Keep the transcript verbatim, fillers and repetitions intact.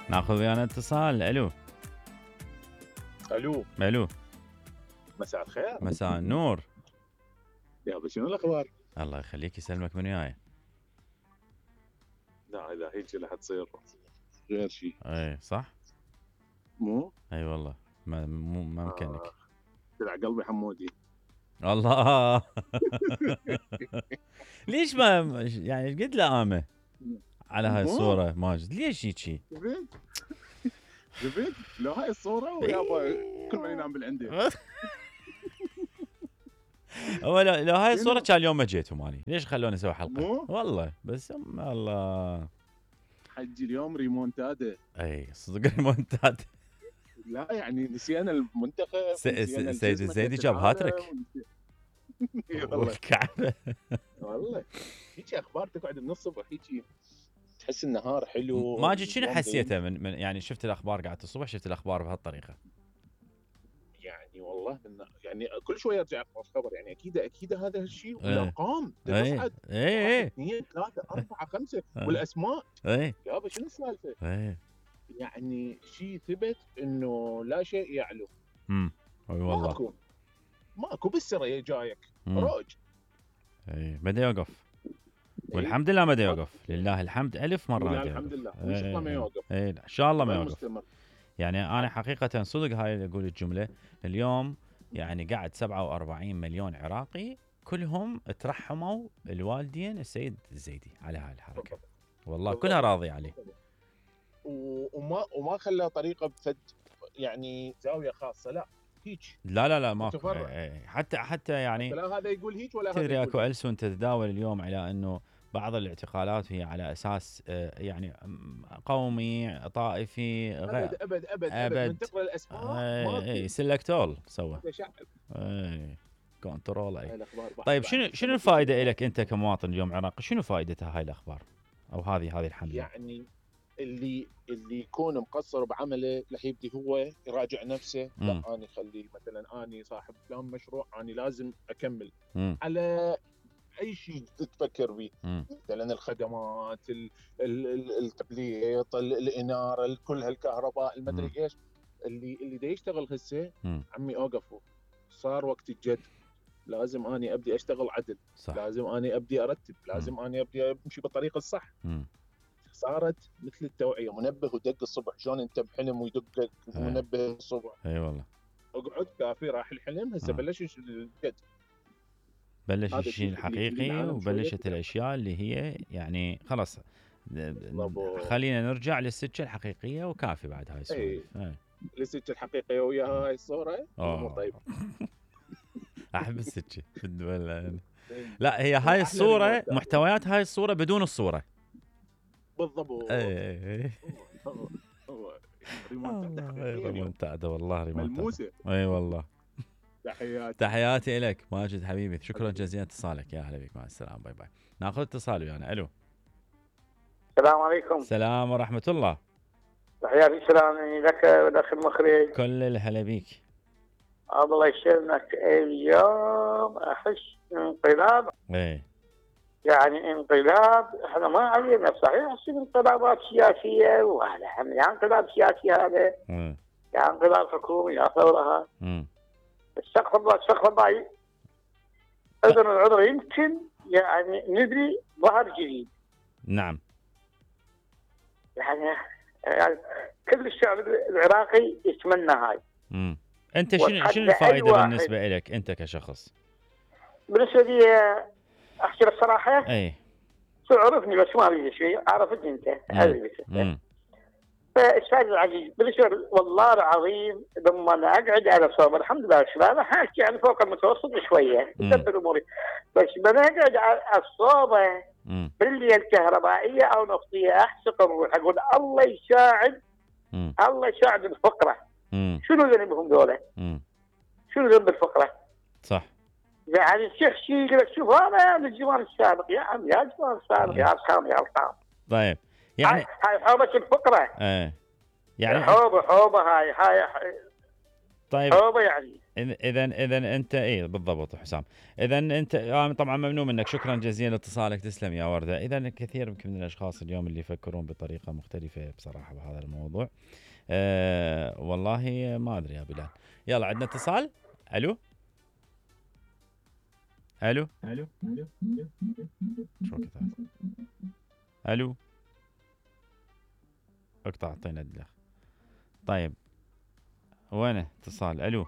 ناخذ ويانا اتصال. الو الو الو مساء الخير. مساء النور. يابا شنو الاخبار؟ الله يخليك يسلمك من وياي. لا اذا هيك راح تصير غير شيء. اي صح مو اي والله ما مو ما مكانك. آه. طلع قلبي حمودي. الله ليش ما يعني قد لامه على هاي الصوره ماجد؟ ليش هيك؟ زبيد زبيد لو هاي الصوره ويابا كل ما ينام بالعندي. هو لو, لو هاي الصوره كان اليوم ما جيتوا مالي. ليش خلوني اسوي حلقه؟ مو؟ والله بس الله حجي اليوم ريمونتادا. اي صدق ريمونتادا. لا يعني نسينا المنتخب. سيد الزيدي جاب هاتريك والله الكعبه. والله هيك اخبار تقعد من الصبح هيك تحس النهار حلو. ماجد شنو حسيته من, من يعني شفت الاخبار قعدت الصبح شفت الاخبار بهالطريقه؟ يعني والله من يعني كل شويه ارجع اقرا خبر يعني اكيد اكيد هذا الشيء والارقام اي تصعد اي اثنين ثلاثه اربعه خمسه والاسماء اي يابا شنو السالفه؟ اي يعني شيء ثبت انه لا شيء يعلو. امم اي والله ماكو ماكو بالسره جايك روج. اي بدا يوقف والحمد لله ما دا يوقف. لله الحمد ألف مرة. لله الحمد لله ان شاء الله ما يوقف. اي ان شاء الله ما يوقف. مستمر. يعني انا حقيقة صدق هاي اللي اقول الجملة اليوم يعني قاعد سبعة وأربعين مليون عراقي كلهم ترحموا الوالدين السيد الزيدي على هاي الحركة. والله كلها راضي عليه. وما وما خلى طريقة بفد يعني زاوية خاصة لا هيك. لا لا لا ما حتى حتى يعني لا هذا يقول هيك ولا هذا. تدري اكو ألسن تتداول اليوم على انه بعض الاعتقالات هي على اساس يعني قومي طائفي غير ابد ابد ابد ابد من تقرا الاسماء اي سلكتول سوى اي كنترول اي. طيب شنو شنو الفائده لك انت كمواطن اليوم عراقي؟ شنو فائدتها هاي الاخبار او هذه هذه الحمله؟ يعني اللي اللي يكون مقصر بعمله رح يبدي هو يراجع نفسه. م. لا اني خلي مثلا اني صاحب فلان مشروع اني لازم اكمل م. على اي شيء تفكر به مثلا الخدمات التبليط الاناره كل هالكهرباء المدري ايش اللي اللي دا يشتغل هسه عمي اوقفوا صار وقت الجد. لازم اني ابدي اشتغل عدل صح. لازم اني ابدي ارتب لازم م. اني ابدي امشي بالطريقه الصح. م. صارت مثل التوعيه منبه ودق الصبح شلون انت بحلم ويدق منبه الصبح. اي والله اقعد كافي راح الحلم هسه بلش الجد بلش الشيء الحقيقي وبلشت الاشياء اللي هي يعني خلاص خلينا نرجع للسكه الحقيقيه وكافي بعد هاي السوالف. اي للسكه الحقيقيه ويا هاي الصوره مو طيب. احب السكه في الدول. لا هي هاي الصوره محتويات هاي الصوره بدون الصوره بالضبط. اي ريمونتادا والله ريمونتادا. اي والله. تحياتي تحياتي لك ماجد حبيبي شكرا جزيلا اتصالك. يا هلا بك مع السلامه باي باي. ناخذ اتصال ويانا. الو السلام عليكم. السلام ورحمه الله. تحياتي سلامي لك ولأخ المخرج. كل الهلا بيك. الله يسلمك. اليوم احس انقلاب. ايه يعني انقلاب احنا ما علينا صحيح تصير انقلابات سياسيه وهذا يا انقلاب سياسي هذا امم يا انقلاب حكومي يا ثوره. امم استغفر الله استغفر الله. اذن العذر يمكن يعني نبني ظهر جديد. نعم يعني, يعني كل الشعب العراقي يتمنى هاي. امم انت شنو شنو الفائده بالنسبه لك انت كشخص؟ بالنسبه لي احكي لك صراحه اي تعرفني بس ما بيجي شيء عرفتني انت هذه امم فاستاذ العزيز بالنسبه والله العظيم لما انا اقعد على صوب الحمد لله الشباب احكي يعني فوق المتوسط شويه تدبر اموري بس لما اقعد على الصوبه بالليل كهربائيه او نفطيه احسق الروح اقول الله يساعد مم. الله يساعد الفقره. مم. شنو ذنبهم ذولا؟ شنو ذنب الفقره؟ صح. يعني الشيخ شي يقول لك شوف هذا من الزمان السابق يا عم يا الزمان السابق يا ارقام يا ارقام. طيب يعني هاي حوبه الفقره. ايه يعني حوبه حوبه هاي هاي طيب صعوبه يعني. اذا اذا انت اي بالضبط حسام. اذا انت آه طبعا ممنون منك، شكرا جزيلا لاتصالك، تسلم يا ورده. اذا الكثير يمكن من الاشخاص اليوم اللي يفكرون بطريقه مختلفه بصراحه بهذا الموضوع. أه والله ما ادري يا بلال. يلا عندنا اتصال. الو الو الو شو كذا؟ الو اقطع اعطينا الدخ. طيب وين اتصال؟ الو